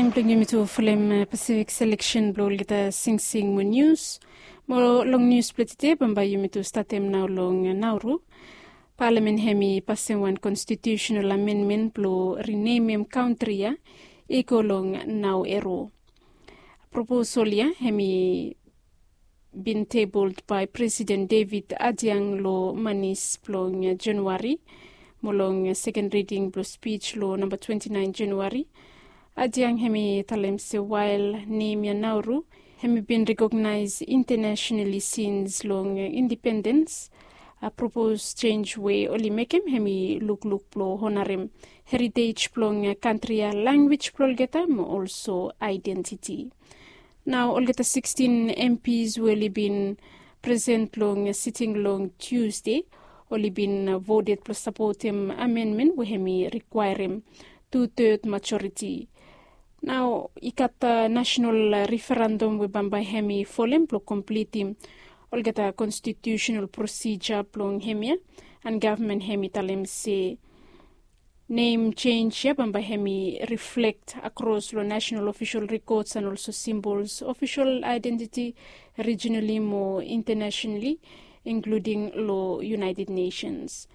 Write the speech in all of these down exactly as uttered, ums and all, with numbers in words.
Blong yumi tu folem Pacific selection blong olgeta singsing mo nius. Mo long nius blong tede bambae yumi tu statem nao long Nauru. Palamen hem i pasem wan konstitiusenal amenmen blong rinemem kantri ya i go long Nau Ero. Proposol ya hem i bin tebol bae Presiden David Adiang long manis blong Januari. Mo long seken riding blong spij long namba twenti naen Januari, Adiang hem i talem se wael nem ya Nauru hem i bin rekognaes intenesenali sins long indipendens, a propos jenj we oli mekem hem i lukluk blong honarem heritej blong kantri ya, lanwis blong olgeta mo olso aedentiti. Nao olgeta sikstin MPs we oli bin present long siting long Tusde oli bin voted blong sapotem amenmen we hem i rikwaerem tu-ted majoriti. Nao i gat nasenal referendum we bambae hem i folem blong komplitim olgeta konstitiusenal prosija blong hem ya. An gavman hem i talem se nem jenj ya bambae hem i riflekt akros long nasenal ofisol rekods an olso simbols ofisol aedentiti rijinali mo intenesenali, inkluding long United Nations.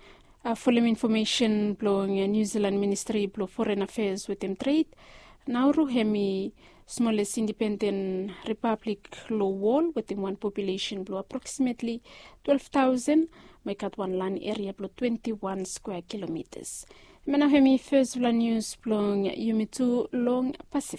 A folem infomesen blong New Zealand Ministri blong Foren Afeas wetem Tred, Nauru hem i smoles indipenden ripablik long wol wetem wan populesen blong aproksimetli twelve tausen, mo i gat wan lan eria blong twenti wan skwea kilomitas. Hemia nao hem i fesfala nius blong yumi tu long Pasifik.